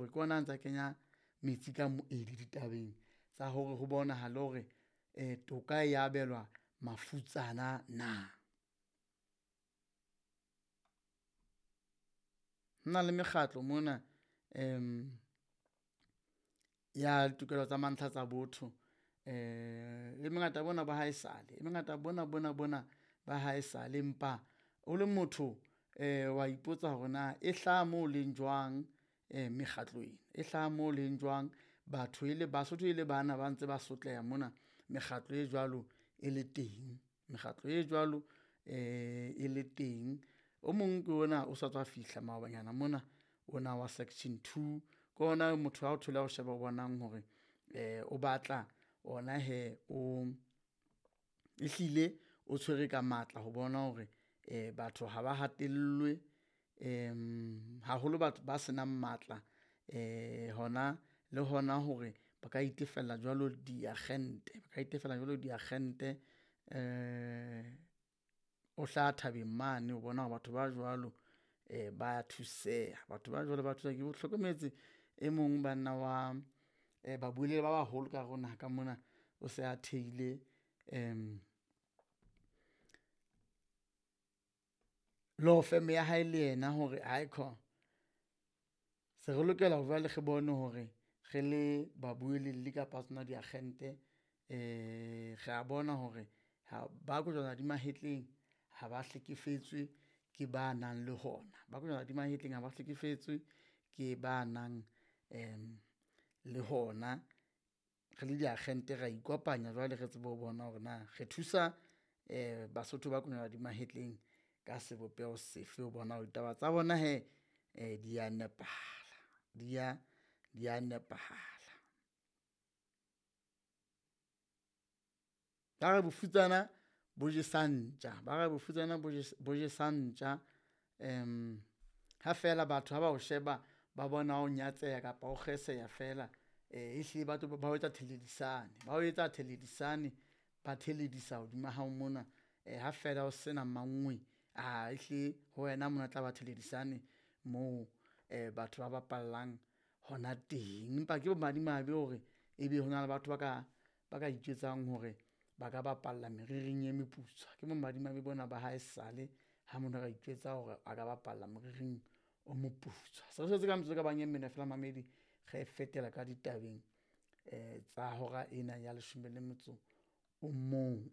hore ke ona a ntsa kenya metsi ka moedi ditabeng tsa hore ho bonahale hore toka e abelwa mafutsana na. Ho na le mekgatlo mona ya ditokelo tsa mantlha tsa botho e mengata bona ba haesale, e mengata bona bona bona ba haesale. Empa o le motho wa ipotsa hore na e hlaha moo leng jwang mekgatlo ena, e hlaha moo leng jwang. Batho e le Basotho e le bana ba ntse ba sotleha mona mekgatlo e jwalo e le teng, mekgatlo e jwalo e le teng. O mong ke ona o sa tswa fihla maobanyana mona ona wa section two, ke ona motho ha o thola o sheba o bonang hore o batla ona hee o, ehlile o tshwere ka matla ho bona hore batho ha ba hatellwe haholo batho ba senang matla hona le hona hore ba ka itefella jwalo diakgente, ba ka itefela jwalo diakgente. O hlaha thabeng mane ho bona hore batho ba jwalo ba thuseha, batho ba jwalo ba thuseha. Ke hlokometse e mong banna wa babuelli ba baholo ka hare ho naha ka mona, o se a thehile law firm ya hae le yena hore aikhona, se re lokela hore jwale re bone hore re le babuelli kapa tsona diakgente re a bona hore ha ba kojwana di mahetleng ha ba hlekefetswe ke ba nang le hona, ba kojwana di mahetleng ha ba hlekefetswe ke ba nang le hona. Re le diakgente ra ikopanya jwale re tsebe ho bona hore na re thusa Basotho ba kojwana di mahetleng ka sebopeho sefe ho bona hore ditaba tsa bona hee di ya nepahala, di ya di ya nepahala. Ba re bofutsana bo jesa ntja, ba re bofutsana bo jesa ntja ha feela batho ha ba o sheba, ba bona o nyatseha kapa o kgeseha feela ehlile ba tlo ba o etsa theledisane, ba o etsa theledisane, ba theledisa hodima hao mona. Ha feela o sena mang wee, ehlile ho wena mona e tla ba theledisane moo batho ba bapallang hona teng. Empa ke bomadimabe hore ebe hona le batho ba ka itjwetsang hore ba ka bapalla meriring e meputswa. Ke bomadimabe bona ba haesale ha motho a ka itjwetsa hore a ka bapalla moriring o moputswa. Se re setse ka metsotso e ka bang e mene feela momamedi re fetela ka ditabeng tsa hora ena ya leshome le motso o mong.